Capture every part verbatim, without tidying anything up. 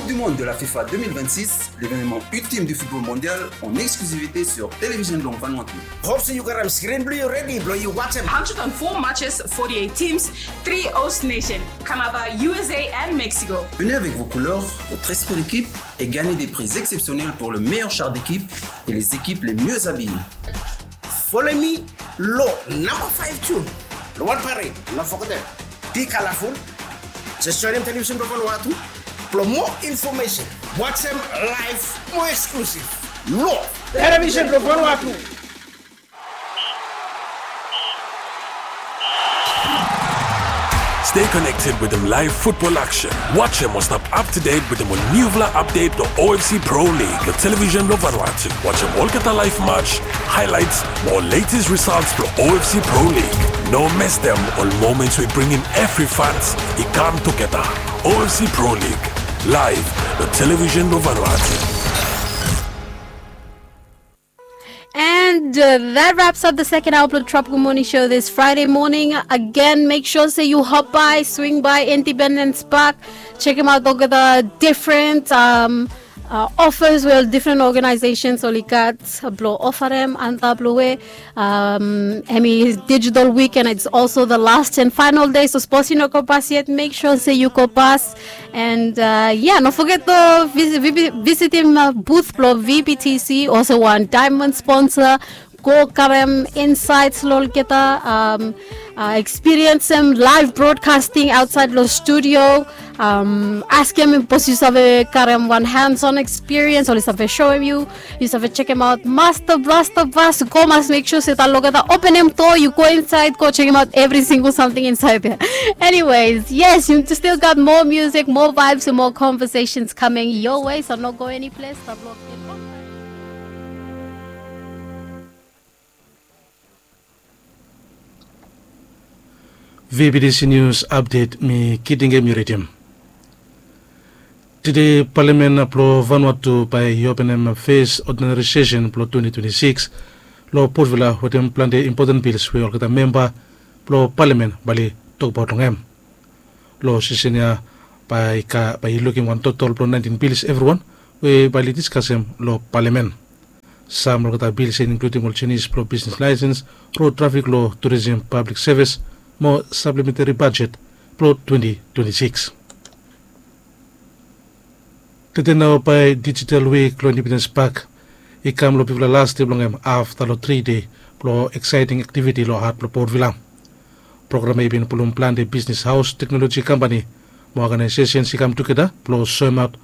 Du monde de la FIFA deux mille vingt-six, l'événement ultime du football mondial en exclusivité sur Télévision Blong Vanuatu. Hope se yu gat skrin blong yu redi blong yu wajem. Hundred and four matches, forty-eight teams, three host nations, Canada, U S A and Mexico. Venez avec vos couleurs, votre esprit d'équipe et gagnez des prix exceptionnels pour le meilleur char d'équipe et les équipes les mieux habillées. Follow me long namba five June long wan parade, no fogetem. Be colorful. Just joinem Television Blong Vanuatu blong moa infomesen. Wajem laev moa eksklusiv long Television Blong Vanuatu. Stay connected wetem laev futbol aksen. Wajem mo stap up to date wetem ol niufala update blong O F C Pro League long Television Blong Vanuatu. Wajem olgeta laev match, highlights mo ol latest results blong O F C Pro League. No mestem ol moments we bringim evri fans i kam tugeta. O F C Pro League, laev long Television Blong Vanuatu. And uh, that wraps up the second hour of the Tropical Morning Show this Friday morning. Again, make sure say you hop by, swing by Independence Park, check them out. They'll get the different um, uh, offers where different organizations only got blow offer them and the blow way. Um, hemi digital weekend, it's also the last and final day. So suppose you no go pass yet, make sure say you go pass. And uh, yeah, no forget to visit, visit him uh, booth blo V B T C, also one diamond sponsor. Go karem insights lo olgeta, um, uh, experience him live broadcasting outside lo studio. Um, ask him if you have a karem one hands-on experience or you have a show him you. Yu save chekem aot Master Blaster Bas. Go mas make sure se ta logeta open em door, yu go inside, go chekem aot evri single samting inside there. Anyways, yes, you still got more music, more vibes and more conversations coming your way, so no go any place. Stop looking. V B T C News Update, mi Kitingem yu ridim. Tede Palamen blo Vanuatu bae i openem fes odinari sesen blo twenty twenty-six lo Port Vila wetem plante impoten bils we olgeta memba blo Palamen bae oli tokbaot long hem. Lo sesen ya bae i lukim wan totol blo naentin bils evriwan we bae oli diskasem lo Palamen. Sam olgeta bils ya i inkludim ol jenis blo bisnes laesens, rod trafik lo, turisem, pablik sevis mo saplementeri bajet blo twenty twenty-six. Tede nao bae dijital wik lo Independens Pak i kam lo bigfala las dei blong hem afta lo tri dei blo eksaeting aktiviti lo hat blo Port Vila. Program ya i bin pulum plante bisnes haos, teknoloji kampani mo oganaesesens i kam tugeta blo soemaot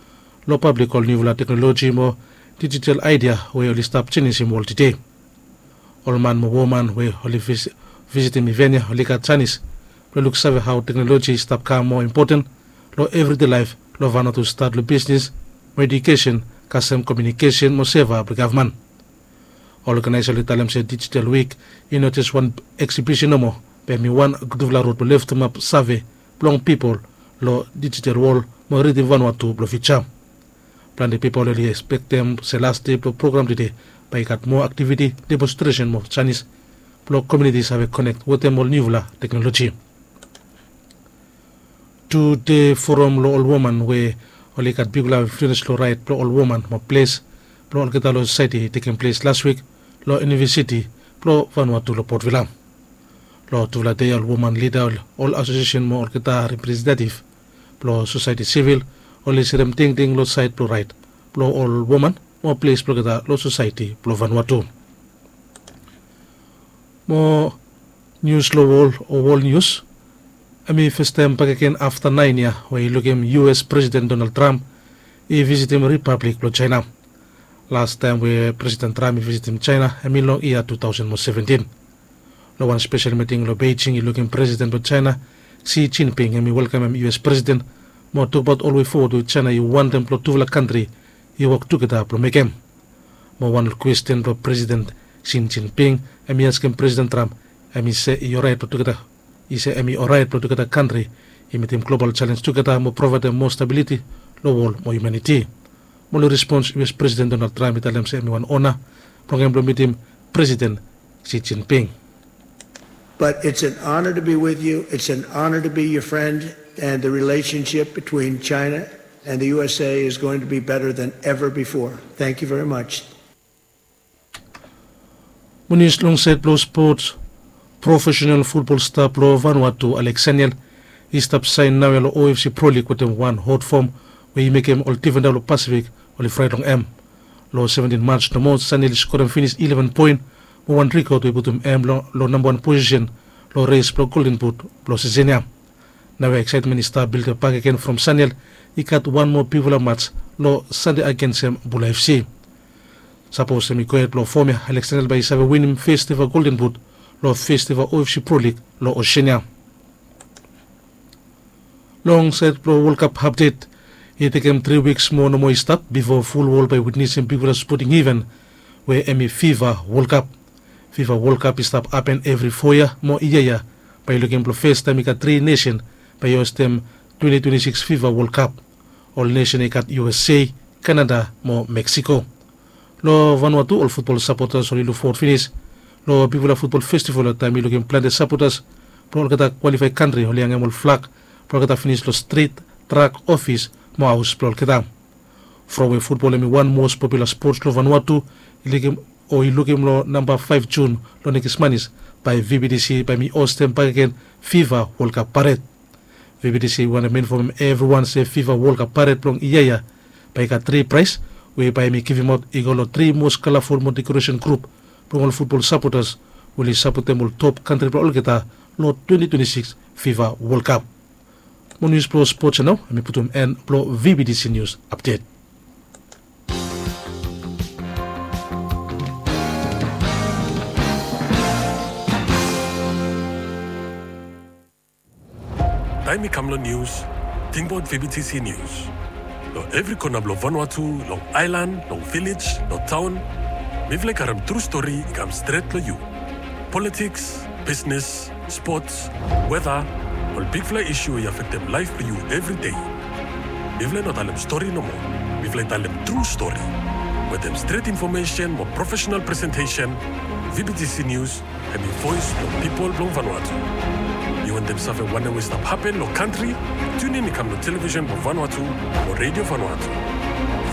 lo pablik ol niufala teknoloji mo dijital aedia we oli stap jenisim wol tede. Ol man mo woman we oli visitim iven ya oli gat janis blo luksave hao teknoloji i stap kam moa impoten lo evride laef lo Vanuatu, stat lo bisnes mo ejukesen, kasem komiunikesen mo seva blo gavman. Ol oganaesa oli talem se dijital wik i no jes wan eksibisen nomo, be hemi wan gudfala rod blo leftemap save blong pipol lo dijital wol mo ridim Vanuatu blo fiuja. Plante pipol oli ekspektem se las dei blo program tede bae i gat moa aktiviti, demonstresen mo janis blo komuniti save konek wetem ol niufala teknoloji. Tude foram lo ol woman we oli gat bigfala influens lo raet blo ol woman mo ples blo olgeta lo sosaeti i tekem ples las wik lo Univesiti blo Vanuatu lo Port Vila. Lo tufala dei ya ol woman lida, ol asosiesen mo olgeta representetif blo sosaeti sivil oli serem tingting lo saed blo raet blo ol woman mo ples blo olgeta lo sosaeti blo Vanuatu. Mo nius lo wol o wol nius. Hemi fastaem bakegen afta naen yia we i lukim U S Presiden Donald Trump i visitim Ripablik blo Jaena. Lastaem we Presiden Trump i visitim Jaena hemi long yia tu taosen mo seventin. Long wan spesel miting long Beijing i lukim Presiden blong Jaena, Xi Jinping, hemi welkamem U S Presiden mo tokbaot ol wei fowod we Jaena i wantem blong tufala kantri i wok tugeta blong mekem. Mo wan ol kwesten blong Presiden Xi Jinping, hemi askem Presiden Trump, hemi se i oraet blong tugeta, i se hemi oraet blong tugeta kantri i mitim global jalenj tugeta mo provaedem moa stabiliti long wol mo hiumaniti. Mo long respons, U S Presiden Donald Trump i talem se hemi wan ona blong hem blong mitim Presiden Xi Jinping. But it's an honor to be with you. It's an honor to be your friend. And the relationship between China And the U S A is going to be better than ever before. Thank you very much. Mo nius long saed blong spots, profesenal futbol sta blong Vanuatu, Alex Saniel, i stap saen naoia long O F C Pro League wetem wan hot fom we i mekem ol difenda blong Pasifik oli fraet long hem. Long seventin March nomo, Saniel i skorem finis ileven poen mo wan rekod we i putum hem long namba wan posisen long res blong Golden Boot blong sisen ya. Naoia eksaetmen i stap bildap bakegen from Saniel i gat wan moa bigfala mats long Sande agensem Bula F C. Sapos hem i gohed blong fom ya, Alex Saniel bae i save winim fes eva Golden Boot long fes eva O F C Pro League long Osean ya. Long saed blong World Cup apdet, i tekem tri wiks moa nomo i stap bifo ful wol bae i witnesem bigfala spoting iven we hem i FIFA World Cup. FIFA World Cup i stap hapen evri fo yia mo yia ya bae i lukim blong fes taem i gat tri nesen bae i hostem twenti twenti sikis FIFA World Cup. Ol nesen i gat U S A, Kanada mo Meksiko. Long Vanuatu ol futbol sapotas oli lukfowod finis long bigfala futbol festival taem i lukim plante sapotas blong olgeta kwalifae kantri oli hangem ol flag blong olgeta finis long strit, trak, ofis mo haos blong olgeta. From we futbol hem i wan mos popula spots long Vanuatu, i lukim o i lukim long namba faef Jun long nekis manis bae V B T C bae hem i hostem bakegen FIFA World Cup pared. V B T C i wantem infomem evriwan se FIFA World Cup pared blong yia ya bae i gat tri praes we bae hem i givimaot i go long tri mos kalaful mo dekoresen grup blong ol futbol sapotas we oli sapotem ol top kantri blong olgeta long twenti twenti sikis FIFA World Cup. Mo nius blong spots ya nao, hem i putum en blong V B T C Nius Apdet. Taem i kam long nius, tingbaot V B T C Nius. Long evri kona blong Vanuatu, long aelan, long vilej, long taon, mifala i karem tru stori i kam stret long yu. Politiks, bisnes, spots, weta, ol bigfala isu we i afektem laef blong yu evri dei. Mifala i no talem stori nomo, mifala i talem tru stori. Wetem stret infomesen mo profesenal presentesen, V B T C Nius hem i voes blong pipol blong Vanuatu. Yu wantem save wanem we i stap hapen long kantri? Tiunin i kam long televisen blong Vanuatu o Redio Vanuatu.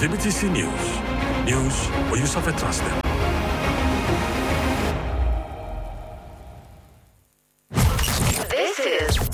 V B T C Nius, nius we yu save trastem.